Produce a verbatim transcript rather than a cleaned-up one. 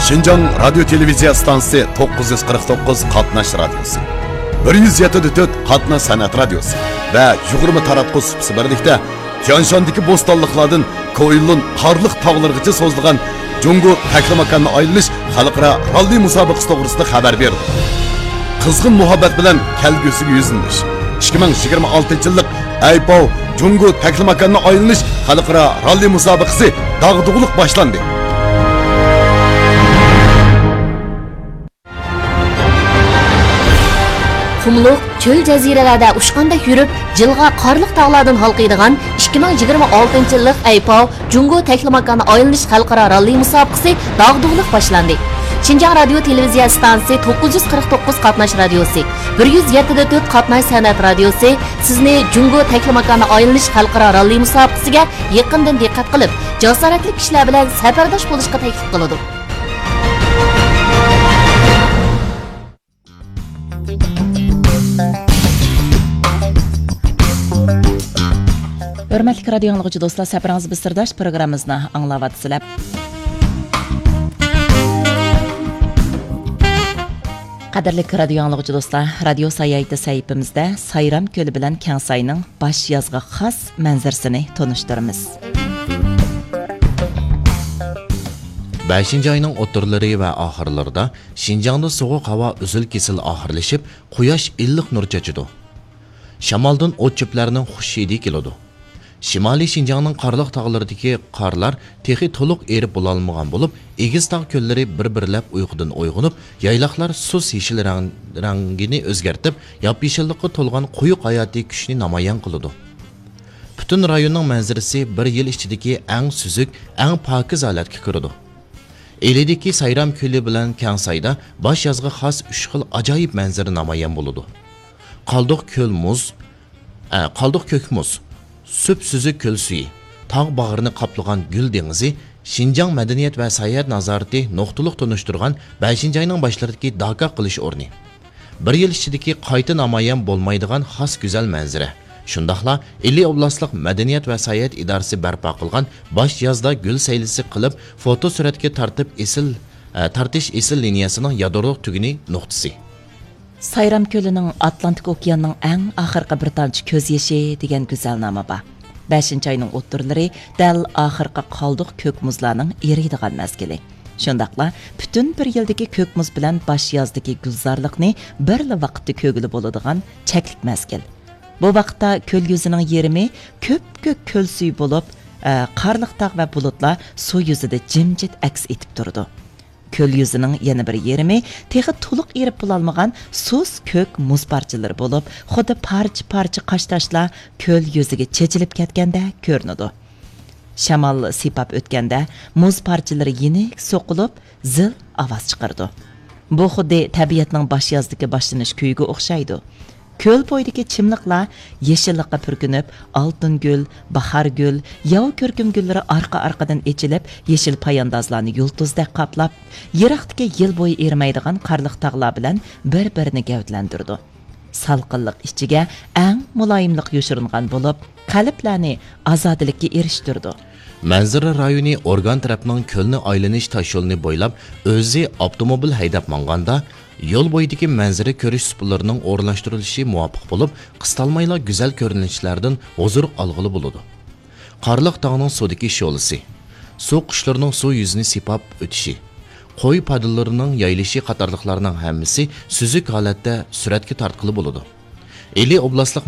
شىنجاڭ رادىيو تېلېۋىزىيە ئىستانسىسى توققۇز يۈز قىرىق توققۇز قاتناش رادىيوسى، بىر يۈز يەتتە دە تۆت قاتناش سەنئەت رادىيوسى ۋە يۇغۇرما تاراتقۇ سۇپىسى بىرلىكتە تيانشاندىكى بوستانلىقلاردىن كوئىلۇن قارلىق تاغلىرىغىچە سوزۇلغان جۇڭگو تەكلىماكاننى ئايلىنىش خەلقئارا راللى مۇسابىقىسى توغرىسىدا خەۋەر بېرىدۇ. قىزغىن مۇھەببەت بىلەن كەلگۈسىگە يۈزلىنىش. ئىككى مىڭ يىگىرمە ئالتىنچى يىللىق ئەيپاۋ جۇڭگو تەكلىماكاننى ئايلىنىش خەلقئارا راللى مۇسابىقىسى داغدۇغىلىق باشلاندى. قۇملۇق، چۆل جەزىرىلەردە ئۇچقاندەك يۈرۈپ، جىلغا قارلىق تاغلاردىن ھالقىيدىغان ئىككى مىڭ يىگىرمە ئالتىنچى يىللىق ئەيپاۋ جۇڭگو تەكلىماكاننى ئايلىنىش خەلقئارا راللى مۇسابىقىسى داغدۇغىلىق باشلاندى. شىنجاڭ رادىيو تېلېۋىزىيە ئىستانسىسى توققۇز يۈز قىرىق توققۇز قاتناش رادىيوسى، بىر يۈز يەتتە دە تۆت قاتناش سەنئەت رادىيوسى سىزنى جۇڭگو تەكلىماكاننى ئايلىنىش خەلقئارا راللى مۇسابىقىسىگە يېقىندىن دىققەت قىلىپ، جاسارەتلىك كىشىلەر بىلەن سەپەرداش بولۇشقا تەكلىپ قىلىدۇ. ھۆرمەتلىك رادىيو ئاڭلىغۇچى دوستلار، سەپىرىڭىز بىر سىرداش پروگراممىمىزنى ئاڭلاۋاتىسىلەر. قەدىرلىك رادىيو ئاڭلىغۇچى دوستلار، رادىيو ساياھىتى سەھىپىمىزدە سايرام كۆلى بىلەن كەڭساينىڭ باش يازغا خاس مەنزىرىسىنى تونۇشتۇرىمىز. بەشىنچى ئاينىڭ ئوتتۇرىلىرى ۋە ئاخىرلىرىدا شىنجاڭدا سوغۇق ھاۋا ئۈزۈل-كېسىل ئاخىرلىشىپ، قۇياش ئىللىق نۇر چاچىدۇ. شامالدىن ئوت-چۆپلەرنىڭ خۇش ھىدى كېلىدۇ. شىمالىي شىنجاڭنىڭ قارلىق تاغلىرىدىكى قارلار تېخى تولۇق ئېرىپ بولالمىغان بولۇپ، ئېگىز تاغ كۆللىرى بىر-بىرلەپ ئۇيقۇدىن ئويغىنىپ، يايلاقلار سۇس يېشىل رەڭ-، رەڭگىنى ئۆزگەرتىپ، ياپيېشىللىققا تولغان قويۇق ھاياتىي كۈچنى نامايان قىلىدۇ. پۈتۈن رايوننىڭ مەنزىرىسى بىر يىل ئىچىدىكى ئەڭ سۈزۈك، ئەڭ پاكىز ھالەتكە كىرىدۇ. ئىلىدىكى سايرام كۆلى بىلەن كەڭسايدا باش يازغا خاس ئۈچ خىل ئاجايىپ مەنزىرە نامايان بولىدۇ. قالدۇق كۆل مۇز، ئە، قالدۇق كۆك مۇز، سۈپسۈزۈك كۆل سۈيى، تاغ باغرىنى قاپلىغان گۈل دېڭىزى، شىنجاڭ مەدەنىيەت ۋە ساياھەت نازارىتى نۇقتىلىق تونۇشتۇرغان بەشىنچى ئاينىڭ باشلىرىدىكى داكا قىلىش ئورنى. بىر يىل ئىچىدىكى قايتا نامايان بولمايدىغان خاس گۈزەل مەنزىرە. شۇنداقلا ئىلى ئوبلاستلىق مەدەنىيەت ۋە ساياھەت ئىدارىسى بەرپا قىلغان باش يازدا گۈل سەيلىسى قىلىپ، فوتو سۈرەتكە تارتىپ ئېسىل، ئە، تارتىش ئېسىل لىنىيەسىنىڭ يادرولۇق تۈگۈنى نۇقتىسى. سايرام كۆلىنىڭ ئاتلانتىك ئوكياننىڭ ئەڭ ئاخىرقى بىر تامچە كۆز يېشى دېگەن گۈزەلنامە بار. بەشىنچى ئاينىڭ ئوتتۇرىلىرى دەل ئاخىرقى قالدۇق كۆك مۇزلارنىڭ ئېرىيدىغان مەزگىلى. شۇنداقلا پۈتۈن بىر يىلدىكى كۆك مۇز بىلەن باش يازدىكى گۈلزارلىقنى بىرلا ۋاقىتتا كۆرگىلى بولىدىغان چەكلىك مەزگىل. بۇ ۋاقىتتا كۆل يۈزىنىڭ يېرىمى كۆپكۆك كۆل سۈيى بولۇپ، ئە، قارلىق تاغ ۋە بۇلۇتلار سۇ يۈزىدە جىمجىت ئەكس ئېتىپ تۇرىدۇ. كۆل يۈزىنىڭ يەنە بىر يېرىمى تېخى تولۇق ئېرىپ بولالمىغان سۇس كۆك مۇز پارچىلىرى بولۇپ، خۇددى پارچە-پارچە قاشتاشلار كۆل يۈزىگە چېچىلىپ كەتكەندەك كۆرۈنىدۇ. شامال سىيپاپ ئۆتكەندە، مۇز پارچىلىرى يېنىك سوقۇلۇپ، زىل ئاۋاز چىقىرىدۇ. بۇ خۇددى تەبىئەتنىڭ باش يازدىكى باشلىنىش كۈيىگە ئوخشايدۇ. كۆل بويىدىكى چىملىقلار يېشىللىققا پۈركىنىپ، ئالتۇن گۈل، باھار گۈل، ياۋا كۆركۈم گۈللىرى ئارقا-ئارقىدىن ئېچىلىپ، يېشىل پاياندازلارنى يۇلتۇزدەك قاپلاپ، يىراقتىكى يىل بويى ئېرىمەيدىغان قارلىق تاغلار بىلەن بىر-بىرىنى گەۋدىلەندۈرىدۇ. سالقىنلىق ئىچىگە ئەڭ مۇلايىملىق يوشۇرۇنغان بولۇپ، قەلبلەرنى ئازادىلىككە ئېرىشتۈرىدۇ. مەنزىرە رايونى ئورگان تەرەپنىڭ كۆلنى ئايلىنىش تاشيولىنى بويلاپ، ئۆزى ئاپتوموبىل ھەيدەپ ماڭغاندا، يول بويىدىكى مەنزىرە كۆرۈش سۇپىلىرىنىڭ ئورۇنلاشتۇرۇلۇشى مۇۋاپىق بولۇپ، قىستالمايلا گۈزەل كۆرۈنۈشلەردىن ھۇزۇر ئالغىلى بولىدۇ. قارلىق تاغنىڭ سۇدىكى شولىسى، سۇ قۇشلىرىنىڭ سۇ يۈزىنى سىيپاپ ئۆتۈشى، قوي پادىلىرىنىڭ يايلىشى قاتارلىقلارنىڭ ھەممىسى سۈزۈك ھالەتتە سۈرەتكە تارتقىلى بولىدۇ. ئىلى ئوبلاستلىق